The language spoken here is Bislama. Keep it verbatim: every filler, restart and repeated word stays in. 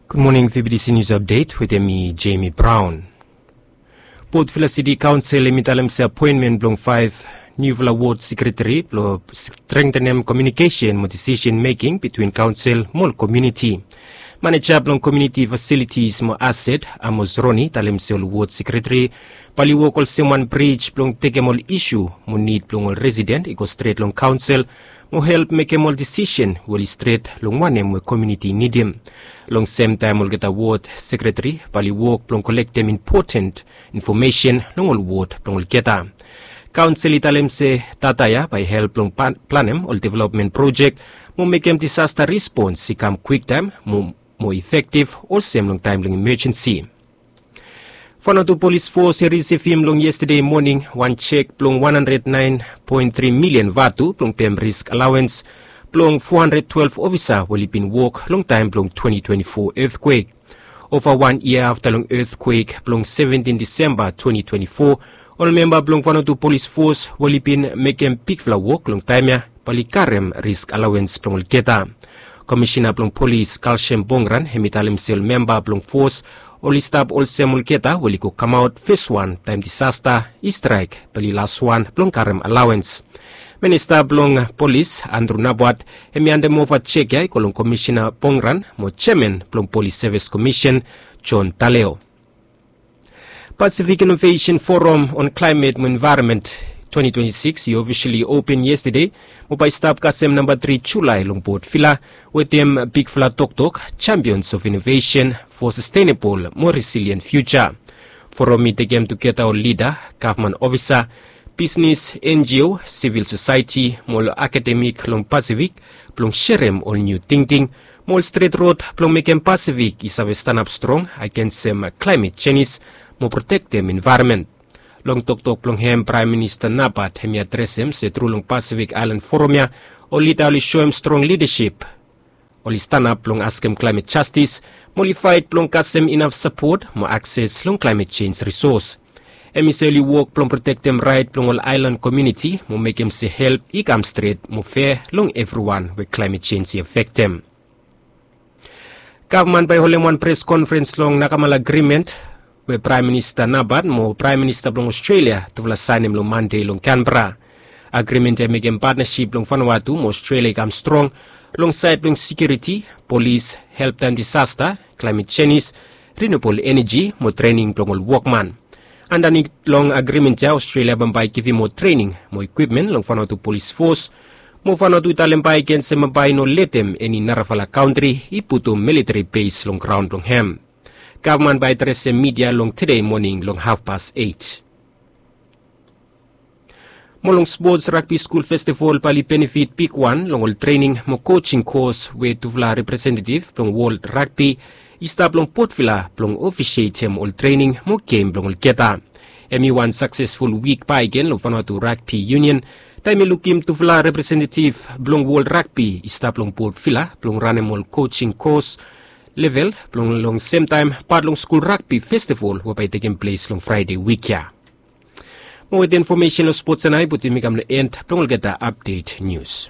Gud moning, V B T C News Update wetem mi, Jamie Brown. Port Vila City Council hemi talem se apoenmen blong faef niufala ward sekretari blong strengtenem komiunikesen mo disisen meking bitwin kaonsel mo ol komuniti. Maneja blong komuniti fasilitis mo aset, Amos Roni, talem se ol ward sekretari bae oli wok olsem wan brij blong tekem ol isu mo nid blong ol residen i go stret long kaonsel mo help mekem ol disisen we oli stret long wanem we komuniti i nidim. Long semtaem olgeta ward sekretari bae oli wok blong kolektem impoten infomesen long ol ward blong olgeta. Kaonsel i talem se data ya bae i help blong planem ol developmen projek mo mekem disasta respons i kam kwiktaem mo mo efektiv olsem long taem blong imajensi. Vanuatu Polis Fos i risivim long yestade moning wan jek blong wan handred naen poen tri milian vatu blong pem risk alawens blong fo handred twelef ofisa we oli bin wok long taem blong twenti twenti fo etkwek. Ova wan yia afta long etkwek blong seventin Disemba twenti twenti fo, ol memba blong Vanuatu Polis Fos we oli bin mekem bigfala wok long taem ya bae oli karem risk alawens blong olgeta. Komisena blong polis Kalsem Bongran hemi talem se ol memba blong fos oli stap olsem olgeta we oli go kamaot feswan taem disasta i straek bae oli laswan blong karem alawens. Minista blong polis Andru Nabwat hemi andemova jek ya i go long Komisena Bongran mo jeaman blong Polis Sevis Komisen John Taleo. Pasifik Inovesen Foram on Klaemet mo Envaeronmen twenti twenti sikis i ofisali open yestade mo bae i stap kasem namba tri Julae long Port Vila wetem bigfala toktok Champions of Innovation for Sustainable mo Resilient Future. Foram i tekem tugeta ol lida, gavman ofisa, bisnes, N G O, sivil sosaeti mo ol akademik long Pasifik blong serem ol niu tingting mo ol stret rod blong mekem Pasifik i save stanap strong agensem klaemet jenis mo protektem envaeronmen. Long toktok blong hem, Praem Minista Nabwat hemi adresem se tru long Pasifik Aelan Foram ya ol lida oli soem strong lidasip. Oli stanap blong askem klaemet jastis mo oli faet blong kasem inaf sapot mo akses long klaemet jenj risos. Hemi se oli wok blong protektem raet blong ol aelan komuniti mo mekem se help i kam stret mo fea long evriwan we klaemet jenj i afektem. Gavman bae i holem wan pres konferens long Nakamal Agrimen we Praem Minista Nabwat mo Praem Minista blong Ostrelia tufala saenem long Mande long Kanbera. Agrimen ya i mekem patnasip blong Vanuatu mo Ostrelia i kam strong long saed blong sekiuriti, polis, help taem disasta, klaemet jenis, rinubol eneji mo trening blong ol wokman. Andanit long agrimen ya, Ostrelia bambae i givim moa trening mo ikwipmen long Vanuatu Polis Fos mo Vanuatu i talem bae agen se bambae i no letem eni narafala kantri i putum militari bes long graon blong hem. Gavman bae i adresem midia long tede moning long hafpas eit. Mo long spots, Ragbi Skul Festival bae oli benefit bigwan long ol trening mo kojing kos we tufala representetiv blong wol ragbi i stap long Port Vila blong ofisietem ol trening mo gem blong olgeta. Hemi wan saksesful wik bakegen long Vanuatu Ragbi Union taem i lukim tufala representetiv blong wol ragbi i stap long Port Vila blong ranem ol kojing kos level blong long semtaem pat long skul ragbi festival we bae i tekem ples long Fraede wik ya. Mo wet infomesen long spots ya nao i putum mi kam long en blong olgeta apdet nius.